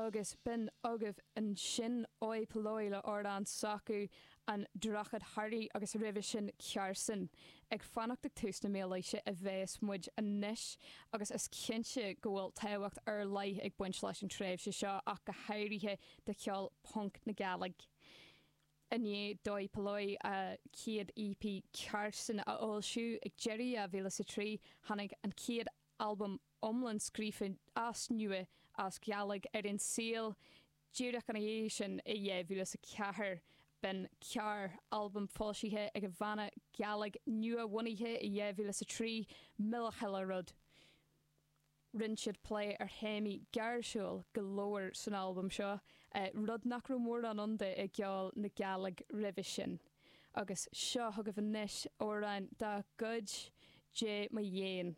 Agus b'in agaibh ansin Oi Polloi le amhrán s'acu, An Droichead Thoir agus roimhe sin Cearsan. Ag fanacht ag tús na mílaoise a bheas muid anois agus is cinnte go bhfuil tábhacht ar leith ag baint leis an tréimhse seo ach go háirithe do cheol punc na Gàidhlig. I ndiaidh d'Oi Polloi a chéad EP Cearsan a fhoilsiú ag deireadh 2003 tháinig an chéad albam iomlán scríofa as nua as Gàidhlig ar an saol díreach ina dhiaidh sin i 2004. B'in Ceàrr, albam foilsithe ag an bhanna Gàidhlig nua-bhunaithe i 2003, Milleach Chuile Rud. Rinne siad plé ar théamaí gáirsiúil go leor san albam seo, rud nach raibh mórán ann de i gceol na Gàidhlig roimhe sin. Agus seo chugaibh anois amhrán dá gcuid, Dè mo dheun.